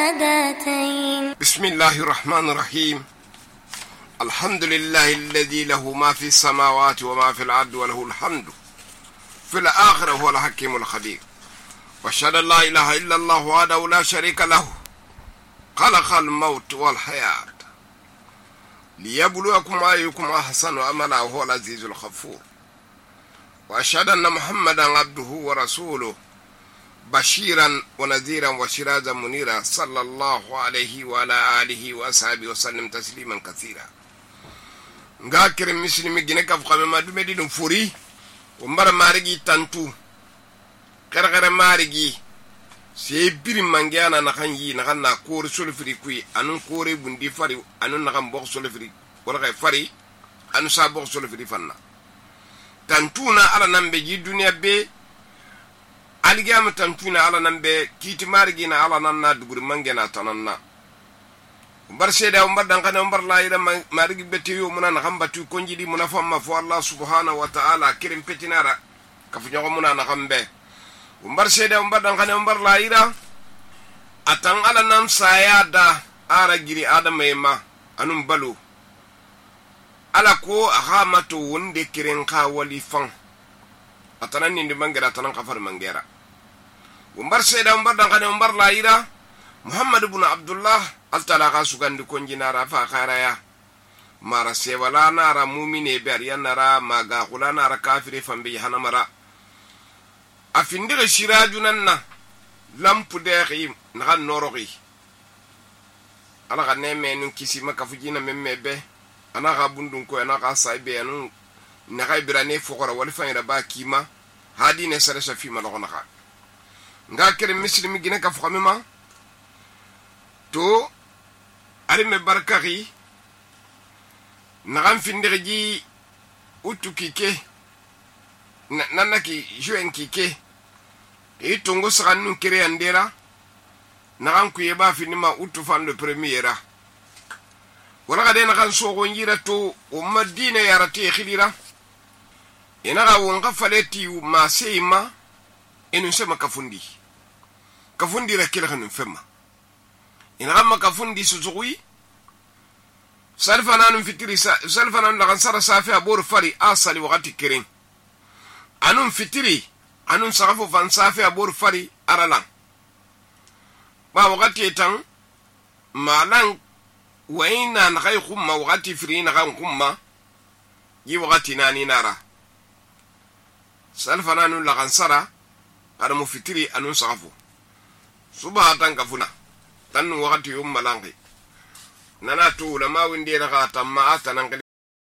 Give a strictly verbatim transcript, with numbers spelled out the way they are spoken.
الشهادتين. بسم الله الرحمن الرحيم. الحمد لله الذي له ما في السماوات وما في الأرض وله الحمد في الآخرة هو الحكيم الخبير. وأشهد أن لا إله إلا الله وحده لا شريك له خلق الموت والحياة ليبلوكم أيكم أحسن عملا وهو العزيز الغفور. وأشهد أن محمدا عبده ورسوله بشيرا ونذيرا وسراجا منيرا صلى الله عليه وعلى آله وأصحابه وسلم تسليما كثيرا. ngakere muslimi gine kaf xame ma dume di dum furi o mbara marigi tantu kare marigi se biri mangiana na kanyi na kanna kore solfiri kui anun kore bundi fari anun na kan bok solfiri wala kay fari anu sa bok solfiri fanna tantuna ala nambe ji duniya be aligama tantuna ala nambe kiti marigi na ala nanna duguri mangena tananna umbar seda umbar dan kana umbar la ida marigi betiyo muna na hambatu konjidi muna famma fo Allah subhanahu wa ta'ala kirim petinara kafu nyago muna na hambe umbar seda umbar dan kana umbar la ida atan ala nam sayada ara giri adam ema anum balu ala ko ahamato wonde kiren ka wali fan atanan ni mangera tanan kafar mangera umbar seda umbar dan kana umbar la ida Muhammad ibn Abdullah altala ka sugandi konjinara fa kharaya mara sewala nara mu'mine ber yanara maga khulana nara kafire fambe hanamara afindire shirajunanna lampu deexi na noroxi ala ga neme nun kisi maka fujina memmebe ana ga bundun ko ana ga saibe anu na ga birane fokora wal fayra ba kima hadi ne sare safi ma loxona xa nga kere muslimi gine ka famima to arime barkari nagan findire ji utu kike nanaki juen kike e tongo sagannu kere andera nagan ku yeba finima utu fan le premiera wala ga de nagan sogo njira to o madina yarate khilira ina ga wonga faleti ma seima enu sema kafundi kafundi ra kila kanu fema ina gamma kafundi suzugui salfananu fitiri salfananu la gansara safi abor fari asali wakati kirin anun fitiri anun sarafu fan safi abor fari arala ba wakati etan malan waina na kai khumma wakati firi na kan khumma yi wakati nani nara salfananu la gansara adamu fitiri anun sarafu subhatan kafuna tan wakati yum malangi nana tu ulama windira ka tamma atanan